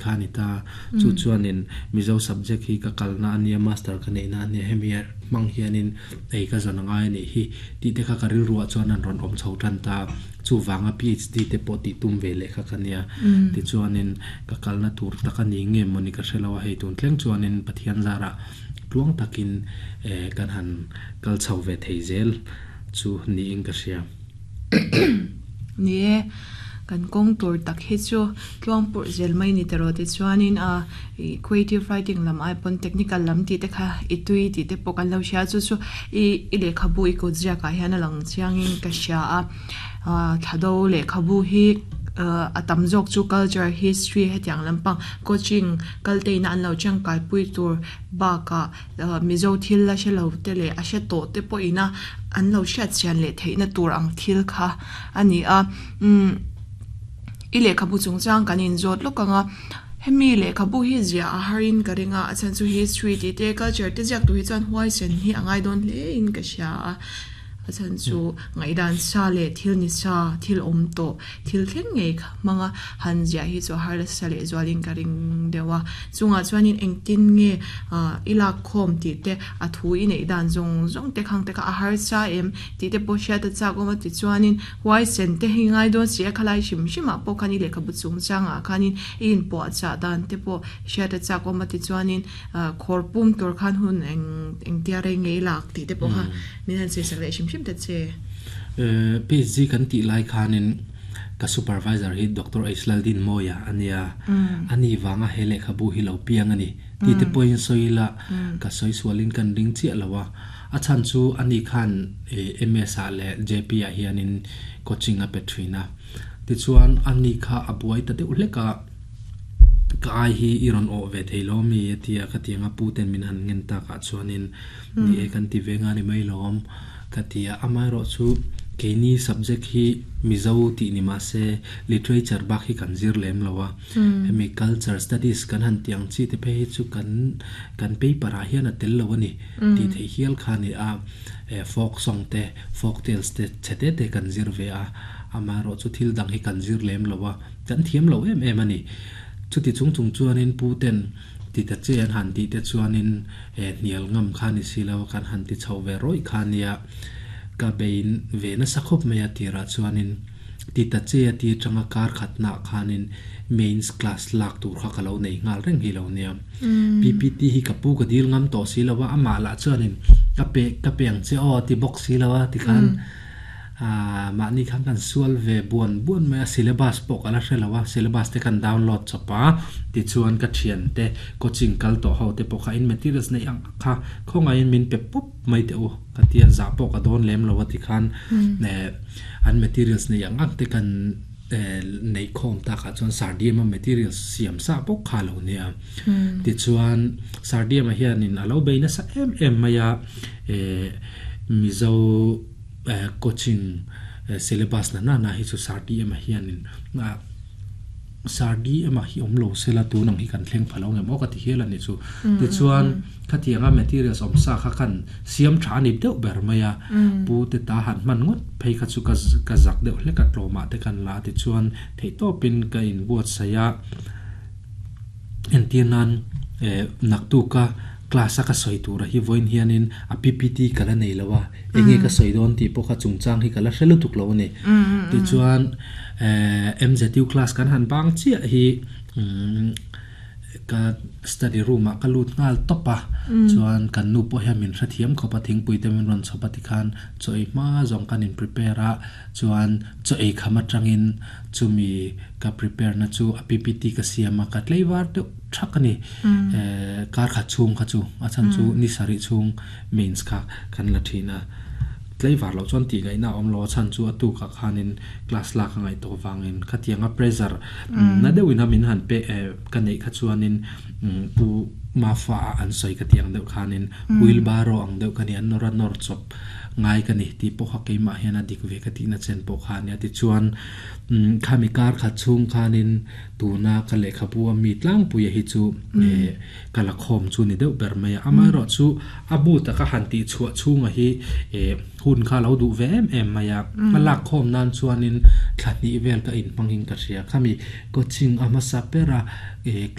Kha a ni ta. Chu chuanin Mizo subject hi ka kalna a nia, master ka neihna a nia, hemi hmang hianin ei ka zawn a ngai a nih hi tih te kha ka rilruah chuan an rawn awm chho tan ta. Chuvanga PhD te pawh tih tum ve leh kha ka nia. Tichuanin ka kalna tur tak a ni nge mawni ka hre lo a, hei tun thleng chuanin Pathian zarah tluang takin kan han kal chho ve thei zel chu niin ka hria. Ni e, kan kawng tur tak hi chu tluang purh zel mai ni tawh tichuanin a ih creative writing lam ai pawn technical lam tih te kha i tui tih te pawh kan lo hria chu chu i i lehkhabu i kut ziak ah hian a lang chiangin ka hria a ah thla do lehkhabu hi ah a tam zawk chu culture history hetiang lampang coaching kal te ina an lo tangkai pui tur bakah Mizo thil la hre lo te leh a hre tawh te pawhin a an lo hriat chian leh theihna tur ang thil kha a ni a. Umm i lehkhabu chungchang kan inzawt lawk ang a, hemi lehkhabu hi ziah a harin ka ring a, a chhan chu history tih te culture te ziak tur hi chuan huaisen hi a ngai dawn hle in ka hria a. A chhan chu ngaihdan sa leh thil ni sa, thil awm tawh, thil thleng ngei kha hmanga han ziah hi chu a har nasa leh zualin ka ring deuh a. Chungah chuanin engtin nge i lak khawm tih te, a thu i neih dan zawng zawng te khang te kha a harsa em tih te pawh hriat a chak awm a tichuanin huaisen te hi ngai dawn si a, khalai hrim hrimah pawh khan i lehkhabu chungchangah khanin i inpuahchah dan te pawh hriat a chak awm a tichuanin Khawr pum tur khan hun eng engtia rei ngei lak tih te pawh kha min han sawisak leh hrim hrim ta che. PhD kan tih lai khanin ka supervisor hi Doctor H Laldinmawia a nia, a ni vanga he lehkhabu hi lo piang a ni tih te pawhin sawi ila ka sawi sualin kan ring chiah lo a, a chhan chu a ni khan MS ah leh JP ah hianin coaching a pe thin a, tichuan a ni kha a buai ta deuh hlek a. Ka ai hi i rawn awh ve thei lo mi a ti a, ka ti ang a pu ten min han ngen tak ah chuanin ni e kan ti ve nga ni mai lawm ka ti a, amaherawh chu keini subject hi Mizo tih ni mah se literature bak hi kan zir lem lo a, hemi culture studies kan han tih ang chi te phei hi chu kan kan paper ah hian a tel lo a ni tih theih hial kha a ni a, folk song te folk tales te chhe te te kan zir ve a, amaherawh chu thil dang hi kan zir lem lo a. Kan thiam lo em em a ni. Chuti chung chung chuanin pu ten ti ta che an han tih te chuanin hnial ngam kha ni si lo a, kan han ti chho ve rawih kha nia. Ka bein ve nasa khawp mai a tirah chuanin ti ta che a ti atanga kar khatnaah khanin mains class lak tur kha ka lo nei nghal reng hi lo nia. PPT hi ka pu ka dil ngam tawh si lo a, amah lah chuanin ka pe ka pe ang che aw a ti bawk si lo a tikhan. Aaa mahni khan kan sual ve buan buan mai a, syllabus pawh ka la hre lo a, syllabus te kan download chawp a, tichuan ka thiante coaching kal tawh ho te pawh kha in materials neih ang kha khawngaihin min pe pawp mai teh u ka tia zah pawh ka dawn lem lo a tikhan eh an materials neih ang ang te kan eh neih khawm takah chuan Sardium-a materials siam sa bawk kha a lo nia. Tichuan Sardium-a hianin a lo bei nasa em em mai a, eh Mizo. Coaching syllabus na nana hi chu Sir DM-a hianin Sir DM-a hi awm lo sela tun ang hi kan thleng pha lo ngem aw ka ti hial a ni chu. Tichuan khatianga materials awm sa kha khan siam tha a ni deuh ber mai a, pu te ta han hman ngawt phei kha chu ka zak deuh hlek a tlawmah te kan la a tichuan theihtawpin ka inbuatsaih a. Entir nan naktuka class a ka sawi tura hi vawiin hianin a PPT ka la nei lo a, enge ka sawi dawn tih pawh kha chungchang hi ka la hre lutuk lo a ni. Tichuan MZU class kan han bang chiah hi ka study room ah ka lut nghal tawp a, chuan kan nu pawh hian min hrethiam khawp a, thingpui te min rawn chhawp a tikhan chaw ei hma zawng kan in prepare a, chuan chaw ei kham atangin Chumi ka prepare na chu a PPT ka siam a, ka tlei var deuh thak a ni. Kar khat chhung kha chu, a chhan chu ni sarih chhung mains kha kan la thin a. Tlei var loh chuan tih ngaihna a awm lo, a chhan chu a tukah khanin class lak a ngaih tawh vangin khatianga pressure na deuhin a min han pe ka neih kha chuanin pu. Mafa a an sawi ka tih ang deuh khanin wheelbarrow ang deuh ka ni a nawr a nawr chawp ngai ka ni tih pawh kha keimah hian a dik ve ka tihna chen pawh kha a nia. Tichuan khami kar khat chhung khanin tuna ka lehkhabu a mi tlangpuia hi chu ka la khawm chu ni deuh ber mai a. Amaherawhchu a bu taka han tih chhuah chhunga hi hun kha a lo duh ve em em mai a. A lak khawm nan chuanin thla hnih vel ka inhmangin ka hria. Khami coaching a hmasa ber a.